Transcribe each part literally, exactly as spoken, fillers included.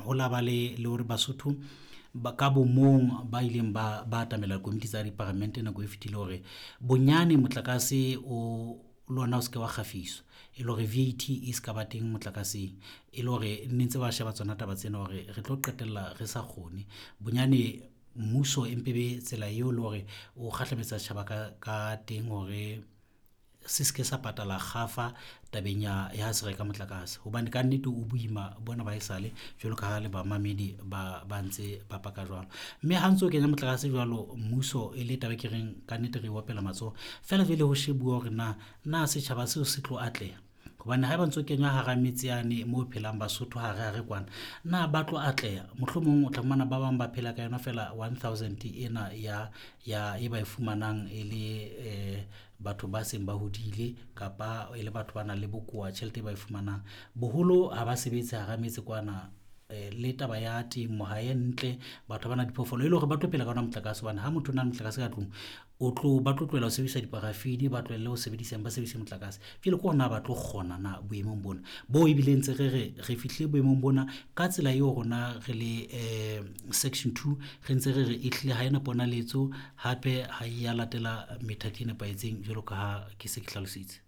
Ho la ba le le hore Basotho ba ka bomong ba ileng ba ba atamela komiti tsa diparlamente nako e fetile hore bonyane motlakase o lona o se ke wa kgafiswa, e le hore V A T e se ka ba teng motlakaseng, e le hore ne ntse ba sheba tsona taba tsena hore re tlo qetella re sa kgone. Bonyane mmuso e mpe be tsela eo le hore o kgahlametsa setjhaba ka, ka teng hore se se ke sa patala kgafa tabeng ya, ya se reka motlakase, hobane ka nnete o boima bona ba esale jwalo ka ha le bamamedi ba, ba ntse ba paka jwalo. Mme ha ntso kenya motlakase jwalo, mmuso e le taba e ke reng ka nnete re opela matsoho fela, jwale ho shebuwa hore na, na setjhaba seo se tlo atleha, hobane haeba ntso kenywa hara metse yane moo phelang Basotho hare hare kwana, na ba tlo atleha? Mohlomong o tla fumana ba bang ba phela ka yona fela one thousand ena ya, ya e ba e fumanang e le, eh, batho ba seng ba hodile kapa e le batho ba nang le bokowa, tjhelete e ba e fumanang. Boholo ha ba sebetse hara metse kwana, eh, le taba ya temo ha e ntle, batho ba na diphoofolo e le hore ba tlo phela ka ona motlakase, hobane ha motho o na le motlakase ka tlung, o tlo, ba tlo tlohela ho sebedisa diparafini, ba tlohelle ho sebedisa, ba sebedise motlakase. Jwale ke hona ba tlo kgona na boemong bona bo ebile ntse re re re fihlile boemong bona ka tsela eo rona re le, eh, section two re ntse re re ehlile ha ena ponaletso, hape ha e ya latela methati e nepahetseng jwalo ka ha ke se ke hlalositse.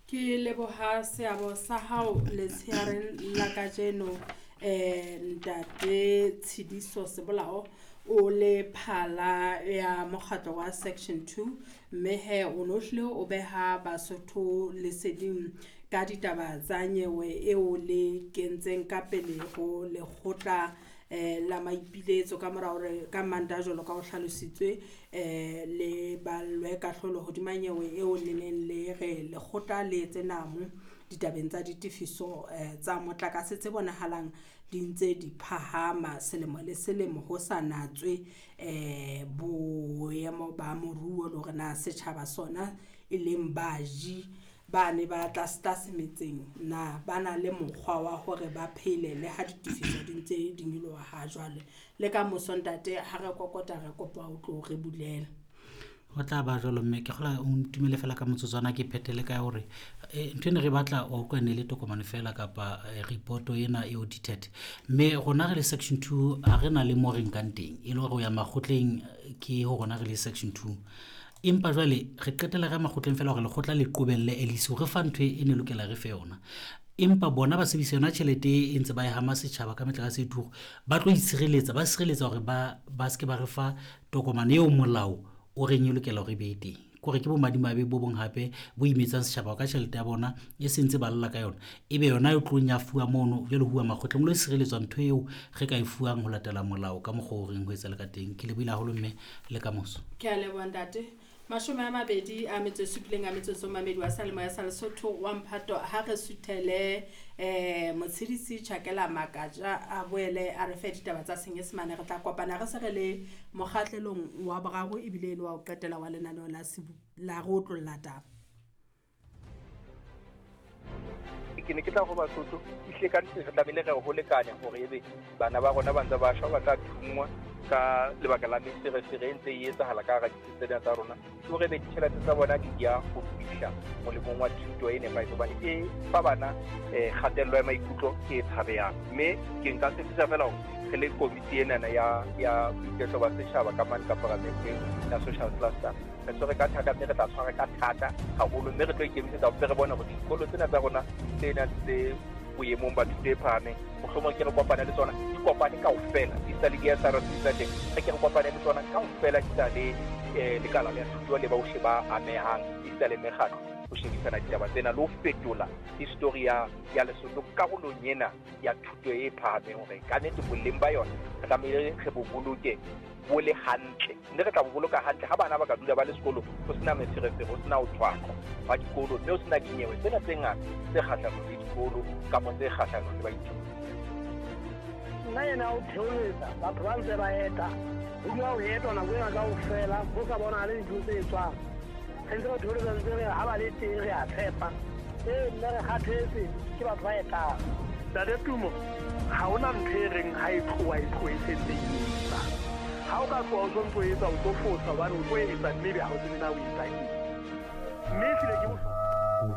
Ke leboha seabo sa hao letsheareng la kajeno, eh, ntate Tshidiso Sebolao, o le phala ya mokgatlo wa section two, mme he o no hlile o beha Basotho leseding ka ditaba tsa nyewe eo le kentseng ka pele ho lekgotla, eh, la maipiletso ka mora hore ka Mantaha jwalo ka ho hlalositswe, eh, le ballwe kahlolo hodima nyewe eo le neng le re lekgotla le etse namo ditabeng tsa ditefiso, eh, tsa motlakase tse bonahalang di ntse di phahama selemo le selemo ho sa natswe, eh, boemo ba moruo le hore na setjhaba sona e leng baji ba ne ba tlase tlase metseng na ba na le mokgwa wa hore ba phele le ha ditefiso di ntse di nyoloha ha jwale. Le ka moso ntate ha re kokota re kopa o tlo re bulela. Ho tla ba jwalo, mme ke kgola o ntumele fela ka motsotswana ke phethele ka hore, eh, ntho e ne re batla wa utlwa ne le tokomane fela kapa, eh, report ena e audited. Mme rona re le section two ha re na le mo re nkang teng, e le hore ho ya makgotleng ke ho rona re le section two. Empa jwale re qetella re ya makgotleng fela hore lekgotla le qobelle L E C hore fa ntho e ne lokela re fe yona. Empa bona ba sebedisa yona tjhelete e ntse ba e hama setjhaba ka metlakase e turu, ba tlo itshireletsa, ba sireletsa hore ba, ba se ke ba re fa tokomane eo molao o reng e lokela hore e be teng. Ke hore ke bomadimabe bo bong hape bo imetsang setjhaba ka tjhelete ya bona e sentse ba lla ka yona, ebe yona e tlo nyafuwa mono jwale huwa makgotleng, lo sireletswa ntho eo re ka e fuwang ho latela molao ka mokgwa o reng ho etsa le ka teng. Ke lebohile haholo mme le ka moso. Ke a leboha ntate. Mashome a mabedi a metso e supileng a metsotso mamedi wa Seyalemoya sa Lesotho wa Mphato, ha re suthele, eh, Motshedisi Tjhakela Makaja a boele a re fe ditaba tsa Senyesemane. Re tla kopana re se re le mokgahlelong wa boraro ebile e le wa ho qetela wa lenaneo la Sebu-, la re otlolla taba. Ke ne ke tla ho Basotho, ehlile ka nnete re tlamehile re ho lekanya hore ebe bana ba rona ba ntse ba shwa, ba tla thunngwa ka lebaka la meferefere e ntse e etsahala ka hara ditsi tsena tsa rona, ke hore ebe ditjhelete tsa bona di ya ho fihla molemong wa thuto e nepahetseng, hobane e fa bana, eh, kgatello ya maikutlo e tshabehang. Mme ke nka tshepisa fela hore re le komiti enana ya, ya boiketlo ba setjhaba ka mane ka paramenteng ya social cluster, re tshwere ka thata mme re tla tshwara ka thata haholo, mme re tlo ikemisetsa hore re bone hore dikolo tsena tsa rona tse nang tse boemong ba thuto e phahameng, mohlomong ke re kopane le tsona, di kopane kaofela, di sa le di S R C tsa teng, re ke re kopane le tsona kaofela, di sa le, eh, lekala la thuto le bohle ba amehang, di sa le mekgatlo ho shebisana ditaba tsena le ho fetola history ya, ya Lesotho karolong ena ya thuto e phahameng, hore ka nnete boleng ba yona re tlamehile re bo boloke bo le hantle, mme re tla bo boloka hantle ha bana ba ka dula ba le sekolong, ho sena meferefere, ho sena ho thwaqwa ba dikolo, mme ho sena dinyewe tsena tse ngata tse kgahlanong le dikolo kapa tse kgahlanong le baithuti. Nna ena o theoletsa batho ba ntse ba eta, ho dula ho etwa nako ena kaofela, ho sa bonahale dintho tse etswang. Re ntse re theoletsa ntse re ha ba le teng re a tshepa. Ee, nna re kgathetse ke batho ba etang. Ntate Tumo, ha hona ntho e reng ha e tloha e tlohe e setse e etsa. Ha o ka tloha o sontso o etsa, o tlo fosa hobane o tlo etsa mme ebe ha o tsebe na o etsa eng. Mme ehlile ke bohlokwa.